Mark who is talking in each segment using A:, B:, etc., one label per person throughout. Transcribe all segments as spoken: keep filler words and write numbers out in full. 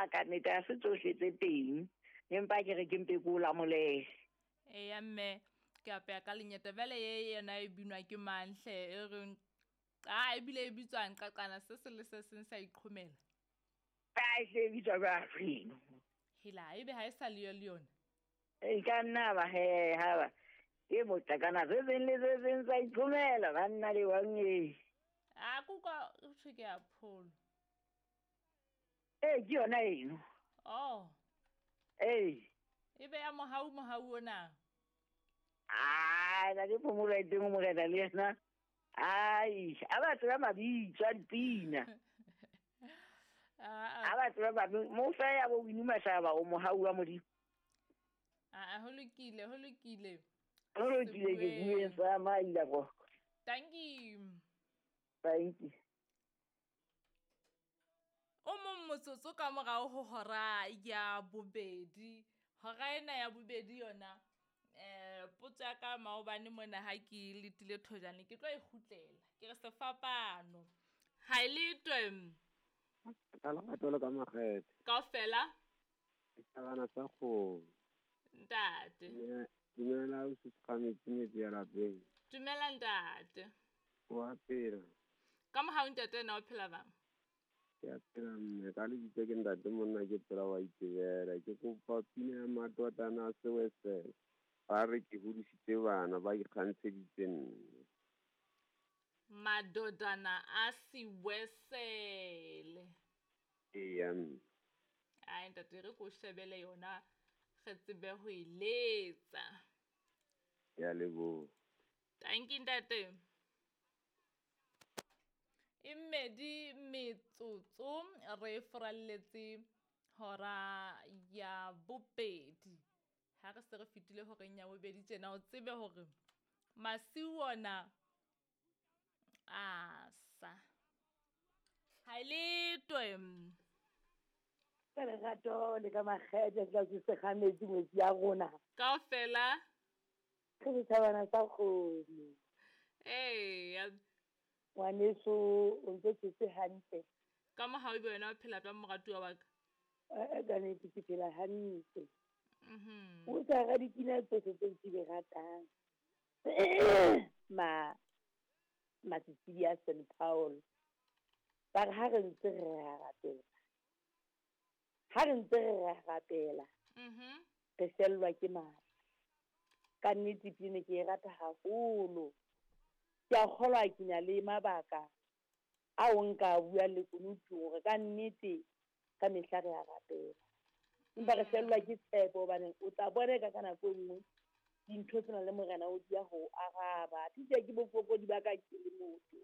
A: A ka nnete ha se tsohle tse teng. Empa ke re ke mpe ke o lamolele.
B: Eya mme ke apeya ka lenyeta bjale ye yona e binwa ke mang hle e reng a ebile e bitswang qaqana se se le se seng sa iqhomela.
A: Ai hle e bitswa jwang eno?
B: Hela ebe ha e sa le yo le yona.
A: E ka nna ba he ha ba. Ke moqakana se seng le se seng sa iqhomela banna le wang e.
B: A kuka o thwe ke ya pholo.
A: Ee ke yona eno.
B: Oh.
A: Ee.
B: Ebe ya mohau mohau ona.
A: Ai, na ke phomolo e teng morena le yena. Ai, a ba tseba mabitso a dipina.
B: Ah,
A: A ba tseba mabitso. Mo fa ya bo Winnie Mashaba o mohau wa Modimo.
B: ah, ho lokile, ho lokile.
A: Ho lokile ke bueng sa maila go.
B: Thank you.
A: Thank you.
B: O mong motsotso ka morao ho hora ya bobedi. Hora ena ya bobedi yona eh potso ya ka maobane mona ha ke letile thojane ke tlo e kgutlela. Ke re sefapano. Ha e letwe
C: Ka lerato le ka makgethe.
B: kaofela
C: Setjhabana sa kgomo.
B: ntate.
C: Dumela dumela o se metsi ya lapeng.
B: Dumela ntate.
C: Wa phela.
B: Ka mohau ntate na o phela bang?
C: Ke a phela mme ka lebitso ke ntate monna ke phela wa itebela. Ke kopa pina ya matotana a sewesele. Ba re ke hodisitse bana ba ikgantsheditse nna.
B: Madodana a siwesele.
C: Eya mme.
B: Ai ntate re ko shebele yona re tsebe ho e letsa.
C: Ke a leboha.
B: Thank you ntate. E mmedi metsotso re furalletse hora ya bobedi. Ha re se re fetile horeng ya bobedi tjena o tsebe hore masiu ona a sa. Ha e letwe.
D: Ka lerato le ka makgethe ka se sekgametsi ngwetsi ya rona.
B: Kaofela.
D: Ke setjhabana sa kgomo.
B: Eya.
D: Ngwaneso o ntse phetse hantle.
B: Ka mohau ebe wena o phela jwang moratuwa wa ka?
D: Eh, ka nnete ke phela hantle.
B: Mhm.
D: O tsa ra dipina tsohle tse ke di ratang. Ma Matsitsi a Saint Paul. Ba re ha re ntse re a rapela. Ha re ntse re a rapela.
B: Mhm.
D: Re fellwa ke matla. Ka nnete pina ke e rata haholo. Ke a kgolwa ke na le mabaka ao nka bua le kunutu hore ka nnete ka mehla re a rapela. Empa re fellwa ke tshepo hobane o tla bona ka ka nako e nngwe dintho tsena le morena o dia ho araba. Tije ke bofokodi ba ka ke le motho.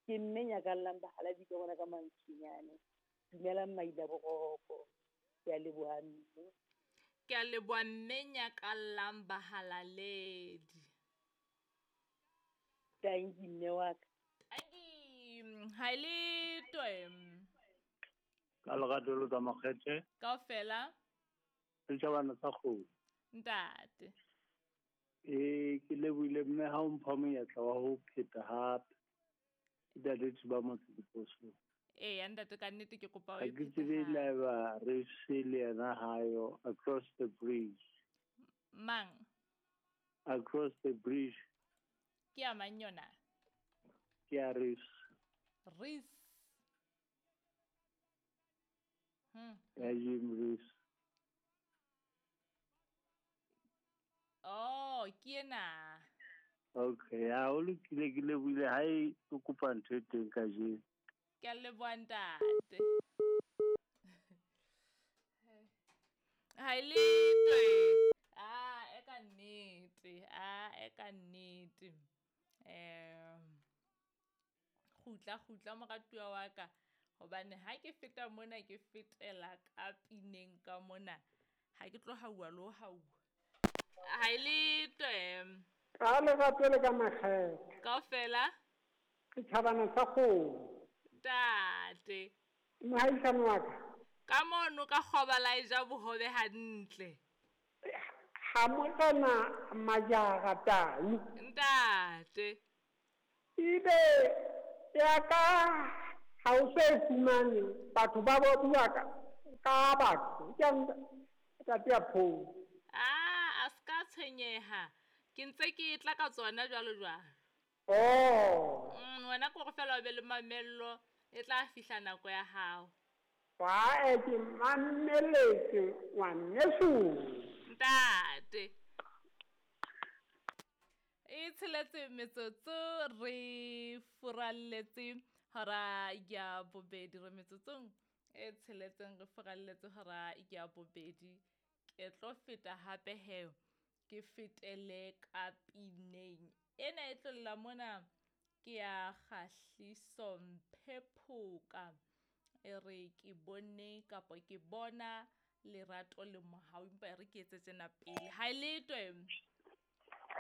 D: Ke mme nyakallang bahaladi ka bona ka mantshinyane. Dumelang maila boroko. Ke a leboha mme.
B: Ke a leboha mme nyakallang bahalaledi.
D: Thank you mme wa ka.
B: Thank you. Ha e letwe.
E: Ka lerato le ka makgethe.
B: Kaofela.
E: Setjhabana sa kgomo.
B: Ntate.
E: Ee, ke lebohile mme ha o mpha monyetla wa ho pheta hape. Ntate Tsuba motse diposong.
B: Eya ntate ka nnete ke kopa o
E: Ha
B: e
E: ke
B: phete
E: tsebe
B: hape.
E: le haeba re se le yena hayo across the bridge.
B: Mang?
E: Across the bridge.
B: Ke ya mang yona?
E: Ke ya Reese.
B: Reese. Hmm.
E: Ya Jim Reese.
B: Oh, ke ena.
E: Okay, ha o lokile ke lebohile ha e o kopa ntho e teng kajeno.
B: Ke a leboha ntate. Ha e letwe. Ah, e ka nnete. Ah, e ka nnete. Eh kgutla kgutla moratuwa wa ka hobane ha ke feta mona ke fetela ka pineng ka mona ha ke tlo hauwa le ho hauwa. Ha e letwe.
F: Ka lerato le ka makgethe.
B: Kaofela.
F: Setjhabana sa kgomo.
B: Ntate.
F: Mohaisane wa ka.
B: Ka mono ka kgoba la e ja bohobe hantle.
F: Ha morena Majara Tau.
B: Ntate.
F: Ebe ya ka ha o so e fumane batho ba bo bua ka Ka batho ke ntate ya pholo.
B: Ah, a ska tshwenyeha. Ke ntse ke tla ka tsona jwalo jwalo.
F: Oh.
B: Mm, wena ko go fela o be le mamello e tla fihla nako ya hao.
F: Wa e ke mameletse ngwaneso.
B: Ntate. E tsheletse metsotso re furalletse hora ya bobedi re metsotsong e tsheletseng re furalletse hora ya bobedi. Ke tlo feta hape he ke fetele ka pineng ena e tlolla mona ke ya Kgahliso Mphephoka e re ke bone kapa ke bona lerato le mohau empa e re ke etse tsena pele ha e letwe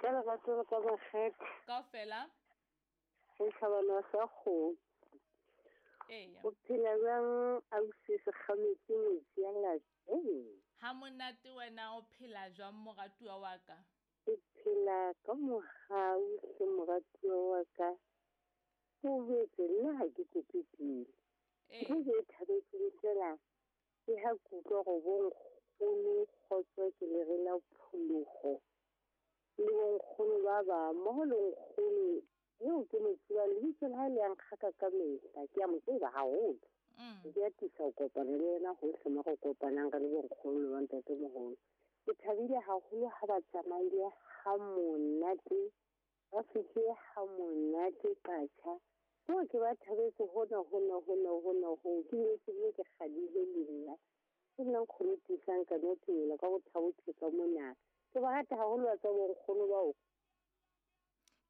G: ka lerato le ka makgethe
B: kaofela
G: re tlhabana sa kgomo.
B: Eya.
G: O phela jwang ausi Sekgametsi metsi ya lapeng?
B: Ha monate wena o phela jwang moratuwa wa ka?
G: Ke phela ka mohau hle moratuwa wa ka. O betse nna ha ke kope pele.
B: Ee.
G: Ntho e ke e thabetseng fela ke ha ke utlwa hore bonkgono kgotso ke lere la pholoho le bonkgono ba bang mmoho le nkgono eo ke mo tsebang lebitso la hae le a nkgaka ka mehla ke a mo tseba haholo.
B: Mm.
G: Ke atisa ho kopana le yena hohle mo re kopanang re le bonkgono le bontatemoholo. Ke thabile haholo ha ba tsamaile ha monate, ba fihlile ha monate Qacha. Ko ke ba thabetse hona hona hona hona hoo ke bile ke bile ke kgadile le nna. Ke nna nkgono tiisang ka no tumela ka bothabo ka mona. Ke ba rata haholo wa tsa bonkgono bao.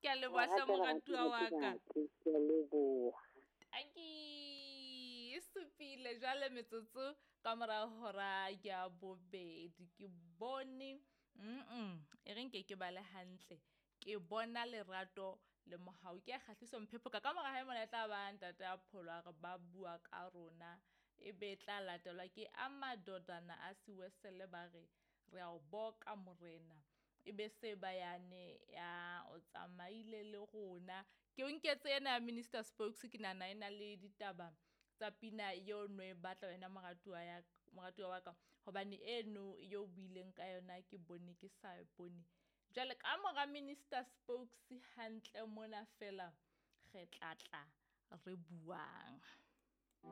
B: Ke a leboha hle moratuwa wa ka.
G: Ke a leboha.
B: Tanki e supile jwale metsotso ka mora hora ya bobedi ke bone mm e re nke ke bale hantle ke bona lerato le mohau ke ya Kgahliso Mphephoka ka mora hae mona e tla ba ntate a pholo a re ba bua ka rona e be tla latelwa ke a madodana a Siwesele ba re re a o boka morena e be se ba yane ya o tsamaile le rona ke o nketse ena ya Minister Spokes ke nahana e na le ditaba tsa pina eo no e batla wena moratuwa ya moratuwa wa ka hobane eno eo o buileng ka yona ke bone ke sa e bone jwale ka mora Minister Spokes hantle mona fela re tla tla re buang.